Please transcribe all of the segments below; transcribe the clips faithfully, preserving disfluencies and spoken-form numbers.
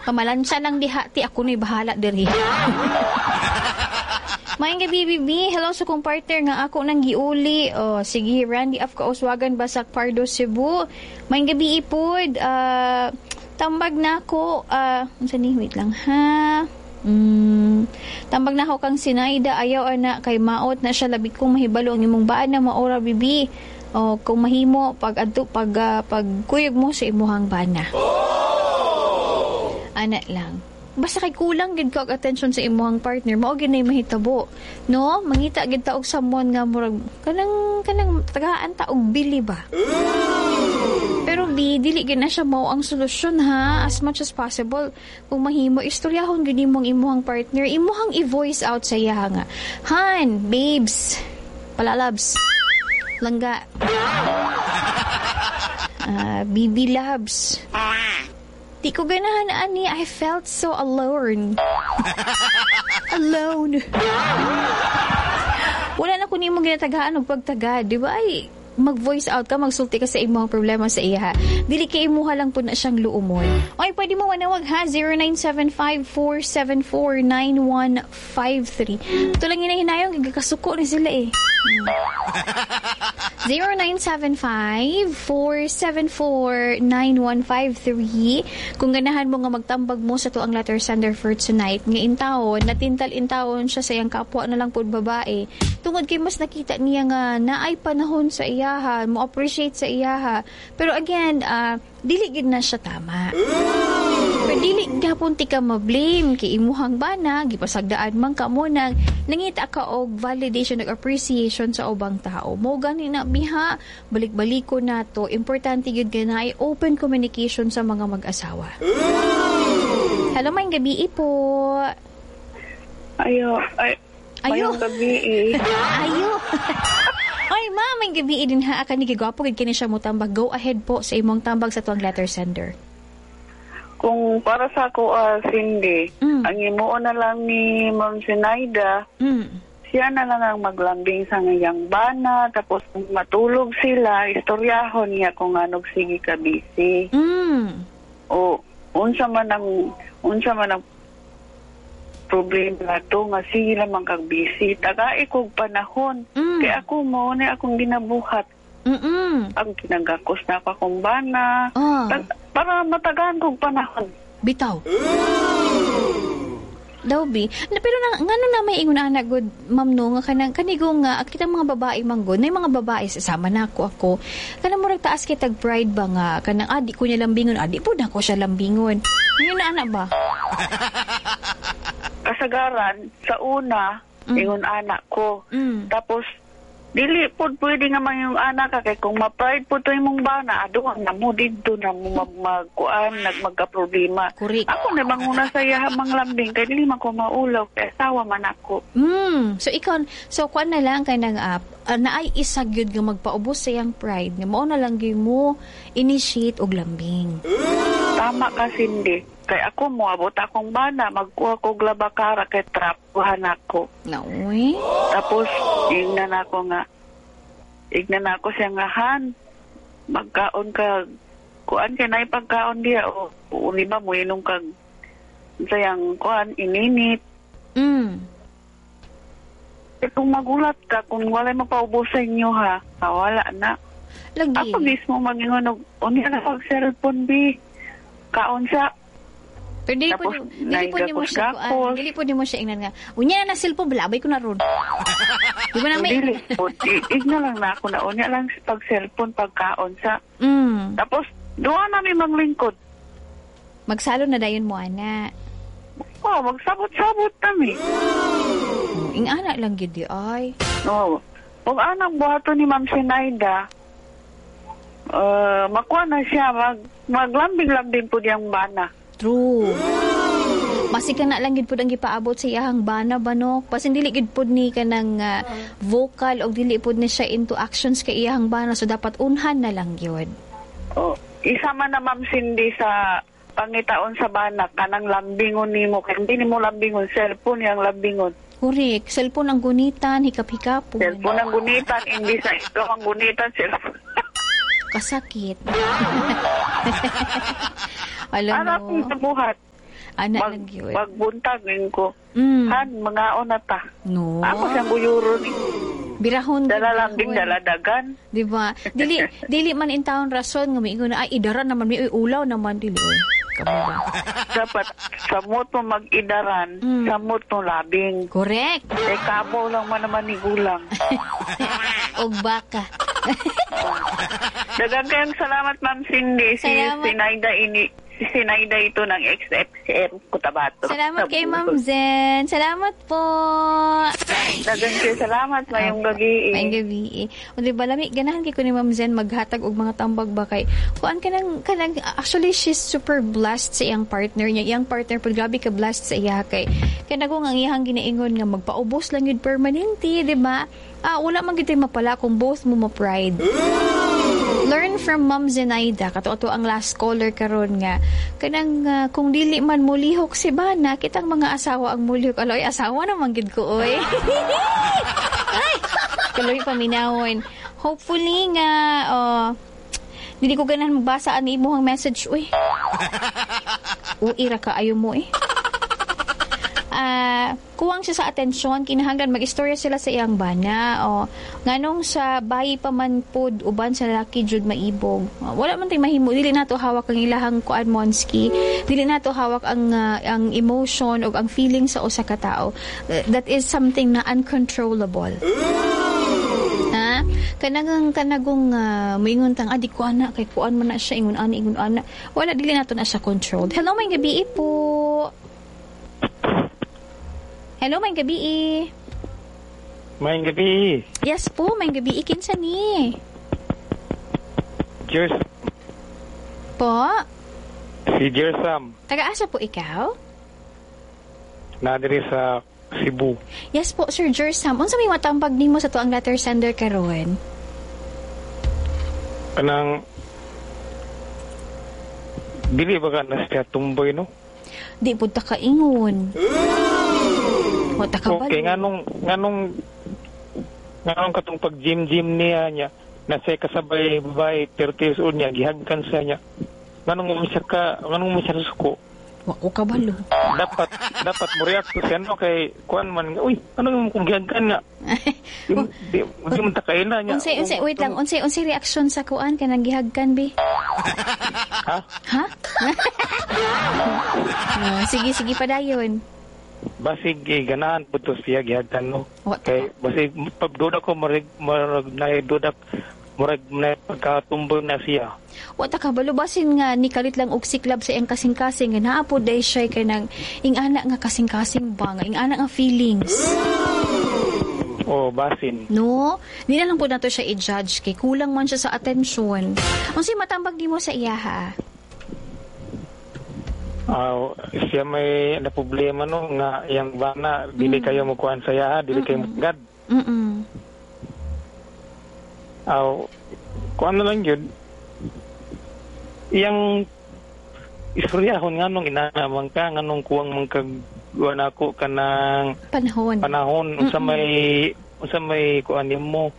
Pamalansya lang diha ti, ako na'y bahala diri. Maayong gabii, B B. Hello sa kong partner nga ako nang giuli. Oh, sige, Randy of Kauswagan, Basak Pardo, Cebu. Maayong gabii pod. Uh, tambag na ako. Uh, unsa ni? Wait lang ha. Mm, tambag na ako kang Sinaida. Ayaw ana kay maot na siya, labi kong mahibalo ang imong bana maora, B B. Oh, kung mahimo pag adto pag uh, pagkuyog mo sa imuhang bana. Ana lang. Basta kay kulang gid ka og attention sa imuhang partner, mao gid nay mahitabo. No? Mangita gid ta og someone nga murag kanang kanang tagaan ta og bili ba. Pero B, dili gid na siya mao ang solusyon ha. As much as possible, kung mahimo, istoryahon gid nimo ang imuhang partner, imuhang i-voice out sa iya nga, "Han, babes, palalabs, langga, uh, B B loves. Di ko ganahan ani, I felt so alone. Alone. Wala na ko nimo ginatagaan og pagtagad, di ba?" Ay, mag-voice out ka, magsulti ka sa imong problema sa iya. Dili kay imuha lang po na siyang luumon. Oy, pwede mo manawag ha, zero nine seven five, four seven four, nine one five three. Ito lang hinahinayong, gigakasuko ni sila eh. Hmm. zero nine seven five, four seven four, nine one five three. Kung ganahan mo nga magtambag mo sa atoang letter sender for tonight, nga intawon, natintal intawon siya sa iyang kapwa na lang pud babae. Tungod kay mas nakita niya nga naay panahon sa iyaha, mo appreciate sa iyaha. Pero again, uh, dili gid na siya tama. Pero dili gapon ti ka ma-blame kay imuhang bana, gipasagdaan man ka mo nang nangita ka og validation ug appreciation sa ubang tao. Mo gani na biha, balik-baliko na to. Importante gyud kay naay open communication sa mga mag-asawa. Hello, maayong gabii po. Ayo, ay, Ayo. Maayong gabii eh. Ayo. Oy, ma'am, maayong gabii din ha. Kani gigwapo gid kini siya mo tambag. Go ahead po sa imong tambag sa tuang letter sender. Kung para sa ako, ah, Cindy, Mm. ang imuon na lang ni Ma'am Sinaida, Mm. siya na lang ang maglambing sa ngayang bana, tapos kung matulog sila, istoryahon niya kung anong sige ka busy. Mm. O unsa man ang unsa man ang problema to nga sige lamang kag busy. Tagai kog panahon. Mm. Kay ako mo na akong ginabuhat. Mm. Ang kinagakos na ako akong bana. Ah. Tag- para matagaan kog panahon. Bitaw. Daw bi. Na, pero na, ngano na may ingon ana good, ma'am, no, nga kanang kanigo nga kita mga babae manggod na mga babae sama na ako ako kanang murag taas kay tag pride ba nga kanang adi ko niya lambingon, adi po na ko siya lambingon. Yun na ana ba? Kasagaran, sa una, Mm. ingon anak ko. Mm. Tapos, dili po pwede nga man yung anak ka kay kung ma-pride po to imong bana, ado na mo didto na mo mag magkuan, nag magka-problema. Correct. Ako na manguna sa iya mang lambing kay dili man ko maulaw kay asawa man ako. Mm. So ikaw, so kuan na lang kay nang uh, uh, naay isa gyud nga magpaubos sa iyang pride nga mao na lang gyud mo initiate og lambing. Tama ka, Cindy. Kay ako moabot akong bana, magkuha kog labakara kay trapuhan ako. Naoy. Tapos ingnan ako nga ingnan ako siya nga, "Han, magkaon ka, kuan kay naay pagkaon diya o o ba mo inom kag sayang kuan ininit." Mm. Eh, kung magulat ka kung walay mapaubos sa inyo ha, ah, wala na. Lagi. Ako mismo mag-ingon og unya na pag cellphone bi. Kaon sa Pero dili po Tapos, dili po nimo siya kuan, naigakos-gakos. Dili po nimo siya ingnan nga, "Unya na na cellphone, balabay ko na ron." Di ba na may Dili po. I- Igna lang na ako na unya lang pag cellphone pagkaon sa. Mm. Tapos duha nami maglingkod. Magsalo na dayon mo ana. Oh, magsabot-sabot kami. Oh, ing-ana lang gyud di ay. No. Kung anang buhaton ni Ma'am Sinaida, uh, makuha na siya, mag, maglambing-lambing po diyang bana. True. Basi ka na lang gid pud ang gipaabot sa iyahang bana ba no. Basin dili gid pud ni kanang ah, vocal og dili pud ni siya into actions kay iyahang bana, so dapat unhan na lang gyud. Oh, isa man na, Ma'am Cindy, sa pangitaon sa bana kanang lambingon nimo kay hindi nimo lambingon cellphone yang lambingon. Correct. Cellphone ang gunitan, hikap-hikapon. Cellphone ang gunitan, hindi sa ikaw ang gunitan cellphone. Kasakit. Alam Anak mo. sa buhat. Ana Mag, lang gyud. Magbuntag ngayon ko. Mm. Han, mangaon na ta. No. Ako siyang guyuro ni. Birahon. Dala lang din birahon. dala dagan. Di ba? Dili dili man in town rason nga miingon na ay idara naman mi uy, ulaw naman dili oy. Kamo ba? Dapat samot mo mag-idaran, Mm. samot mo labing. Correct. Eh, kabaw lang man naman ni gulang. Og baka. Dagang kayong salamat, Ma'am Cindy. Si Salamat. Sinaida ini si Sinaida ito ng X F C M Cotabato. Salamat kay Ma'am Zen. Salamat po. Dagang kayo salamat, mayong gabi. Maayong gabi. O di ba lami ganahan kay ko ni Ma'am Zen maghatag og mga tambag ba kay kuan kanang kanang actually she's super blessed sa iyang partner niya. Iyang partner pud grabe ka blessed sa iya kay kanang ang iyang ginaingon nga magpaubos lang yun permanente, di ba? Ah, wala man gid mapala kung both mo mo-pride. Learn from Ma'am Zenaida kato ato ang last caller karon nga kanang ah, kung dili man mulihok si bana, kitang mga asawa ang mulihok. Aloy, asawa naman gid ko oy. Ay, kaloy paminawon. Hopefully nga oh, dili ko ganahan magbasa ani imong message uy. Uy ra ka ayo mo eh. Ah, kuwang siya sa atensyon, kinahanglan mag-istorya sila sa iyang bana o nganong sa bayi pa man pod uban sa lalaki jud maibog. Wala man tay mahimo, dili nato hawak ang ilahang kuan monski, dili nato hawak ang ah, ang emotion o ang feeling sa usa ka tao. Uh, that is something na uncontrollable, ha. Kanang kanagong uh, moingon tang ah, di ko ana kay kuan man na siya, ingon ani, ingon ana, wala, dili nato na siya controlled. Hello, may gabi po. Hello, may gabi. Maayong gabi. Yes po, may gabi. Kinsa ni? Jers, Po? Si Jersam. Taga-asa po ikaw? Na diri sa Cebu. Yes po, Sir Jersam. Unsa may matambag nimo sa tuang letter sender karon? Kanang dili ba ka na siya tumboy, no? Di pud ta kaingon. Wa ta kabalo. Okay, nganong nganong nganong katong pag gym gym niya niya na siya kasabay babae thirty years old niya gihagkan siya niya. Nganong mo siya ka nganong mo siya suko? Wa ko kabalo. Dapat dapat mo react siya, no, kay kuan man, uy, ano mo kung gihagkan nga? Di, di, di mo ta kaila niya. Unsay unsay wait lang, unsay unsay reaction sa kuan kanang gihagkan bi? Ha? Ha? No, sige sige padayon. Basig eh, ganahan po to siya gihagkan, no? Wa ta Kay basig pagduda ko murag murag na duda murag na pagkatumboy na siya. Wa ta kabalo, basin nga nikalit lang og siklab sa iyang kasing-kasing nga naa pod day siya kanang ing-ana nga kasing-kasing ba nga ing-ana nga feelings. O basin. No, di na lang po nato siya i-judge kay kulang man siya sa atensyon. Unsay matambag nimo sa iya, ha? Ah, siya may na problema, no, nga yang bana dili kayo mo kuan sa iya, dili kayo mo gad. Mm. Aw, kuan na lang yun. Iyang istoryahon nganong inana man ka, nganong kuwang man kag kuan ako kanang Panahon. Panahon, unsa may unsa may kuan nimo,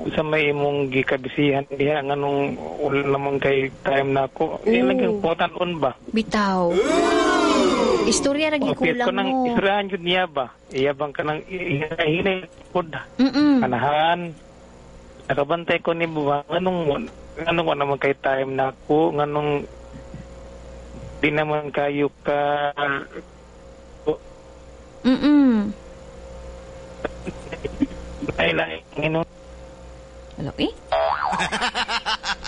unsa may imong gikabisihan diha, nganong wala naman kay time nako. Oo. Mm. Lang yung on ba? Bitaw. Istorya ra O, gikulang ko nang mo. istoryahan jud niya ba? Iya bang kanang hinay pod. Mm. Kanahan. Nakabantay ko ni ba nganong nganong wala naman kay time nako, nganong di naman kayo ka Mm. ay lain ngino. Wala eh.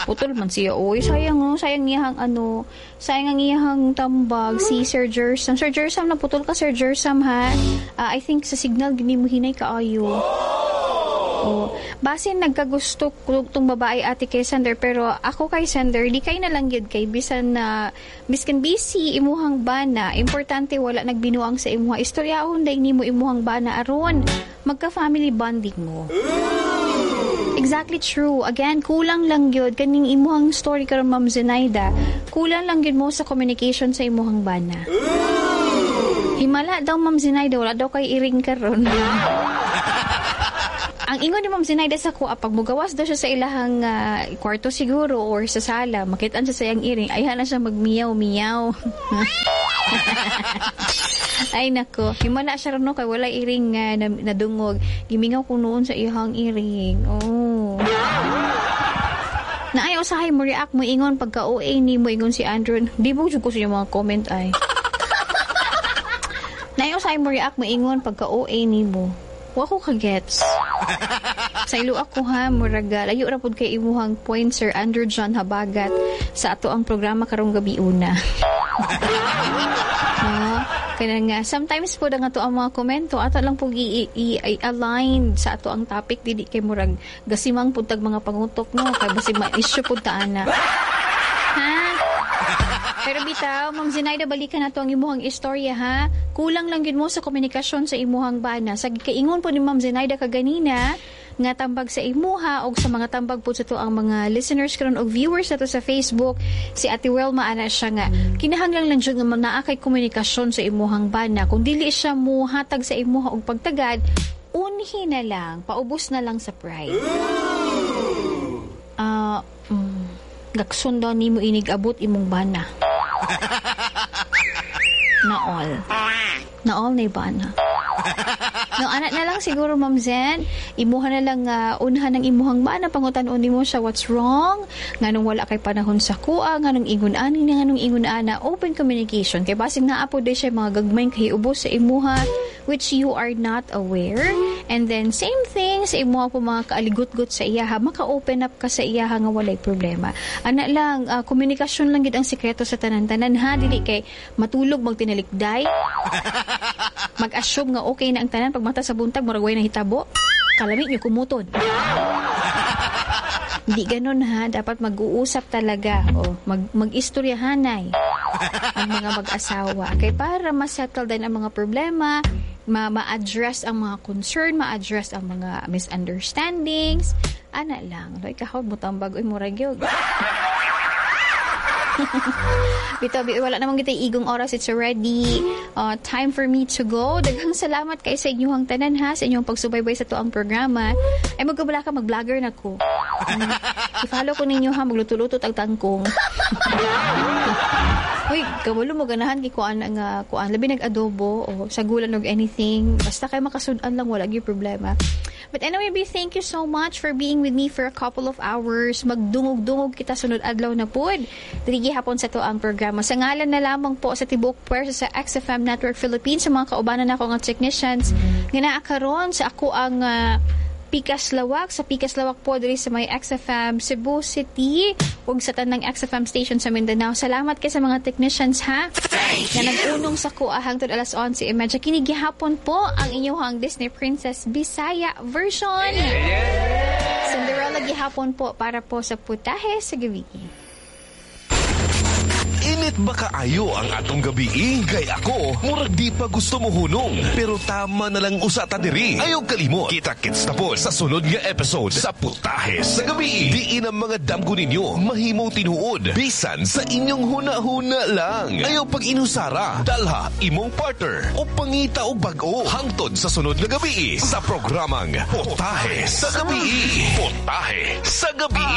Putol man siya. Uy, sayang oh. Sayang iyahang ano. Sayang ang iyahang tambag si Sir Jersam. Sir Jersam, naputol ka, Sir Jersam, ha? Ah, I think sa signal gini mo hinay kaayo. Oh, basin nagkagusto ko tong babae ate kay sender, pero ako kay sender di kay na lang gyud kay bisan na biskan busy imuhang bana, importante wala nagbinuang sa imuha. Istoryahon day nimo imuhang bana aron magka family bonding mo. Exactly true. Again, kulang lang gyud kaning imuhang story karon, Ma'am Zenaida. Kulang lang gyud mo sa communication sa imuhang bana. Himala daw, Ma'am Zenaida, wala daw kay iring karon. Ang ingon ni Ma'am Zenaida sa kuha, pag mugawas daw siya sa ilahang ah, kwarto siguro or sa sala, makitaan siya sa iyang iring, ayhan na siya magmiyaw-miyaw. Ay nako, himala siya ron no, kay wala iring nga uh, nadungog. Gimingaw ko noon sa iyang iring. Oh. Naay usahay mo react mo ingon pagka O A ni mo ingon si Andrew. Di mo jud ko sa inyong mga comment ay. Naay usahay mo react mo ingon pagka O A ni mo. Wa ko ka-gets. Sa ilo ako ha, muraga, layo ra pud kay imuhang point, Sir Andrew John Habagat, sa ato ang programa karong gabi una. No? Kaya nga, sometimes po nga ato ang mga komento, ato lang po i-align sa ato ang topic, dili kay murag gasimang pud tag mga pangutok, no? Kay basig ma-issue pud ta ana. Ha? Pero bitaw, Ma'am Zenaida, balikan nato ang imuhang istorya ha. Kulang lang yun mo sa komunikasyon sa imuhang bana. Sa kaingon po ni Ma'am Zenaida kaganina, nga tambag sa imuha o sa mga tambag po sa to ang mga listeners karon og viewers nato sa Facebook, si Ate Wilma, ana siya nga kinahanglan lang jud nga naa kay komunikasyon sa imuhang bana. Kung dili siya mo hatag sa imuha og pagtagad, unhi na lang, paubos na lang sa pride. Ah, uh, mm, gakson daw nimo inig abot imong bana. Na all. Na all na bana. No, anak na lang siguro, Ma'am Zen, imuha na lang uh, unhan ng imuhang bana, pangutan-on nimo siya what's wrong, nganong wala kay panahon sa kuha, nganong ingon ani, nganong ingon ana, open communication. Kay basig naa po siya mga gagmay kay ubos sa imuha which you are not aware. And then same thing sa imuha po mga kaaligot-got sa iyaha, maka-open up ka sa iyaha nga walay problema. Ana lang, uh, komunikasyon lang gid ang sikreto sa tanan-tanan ha, dili kay matulog magtinalikday. Mag-assume nga okay na ang tanan, pagmata sa buntag murag way nahitabo. Kalami niyo kumuton. Hindi ganun ha, dapat mag-uusap talaga o mag mag-istoryahanay ang mga mag-asawa kay para ma-settle din ang mga problema, ma ma-address ang mga concern, ma-address ang mga misunderstandings. Ana lang. Loy kahaw mo tambag oy murag yun. Bitaw, wala namang kita igong oras. It's already uh, time for me to go. Daghang salamat kay sa inyong tanan ha, sa inyong pagsubaybay sa tuang programa. Ay, magkabala ka, mag-vlogger na ko. Um, i-follow ko ninyo ha, magluto-luto tag tangkong. Uy, kabalo mo ganahan kay kuan nga kuan labi nag-adobo o sagulan og anything. Basta kay makasud-an lang, wala gyud problema. But anyway, B, thank you so much for being with me for a couple of hours. Magdungog-dungog kita sunod adlaw na pud. Diri gihapon sa to ang programa. Sa ngalan na lamang po sa tibuok puwersa sa X F M Network Philippines, sa mga kaubanan nako nga technicians nga naa karon sa ako ang uh, Pikas Lawak, sa Pikas Lawak po diri sa may X F M Cebu City ug sa tanang X F M station sa Mindanao. Salamat kay sa mga technicians ha. Nga nag-unong sa kuha hangtod alas onse trenta. Kini gihapon po ang inyong Disney Princess Bisaya version. Cinderella gihapon po para po sa Putahe sa Gabi. Init ba kaayo ang atong gabi? Kay ako, murag di pa gusto mo hunong. Pero tama na lang usa ta diri. Ayaw kalimot. Kita-kits na po sa sunod nga episode sa Putahe sa Gabi. Diin ang mga damgo ninyo mahimong tinuod. Bisan sa inyong huna-huna lang. Ayaw pag inusara. Dalha imong partner o pangita og bag-o. Hangtod sa sunod nga gabi sa programang Putahe sa Gabi. Putahe sa Gabi.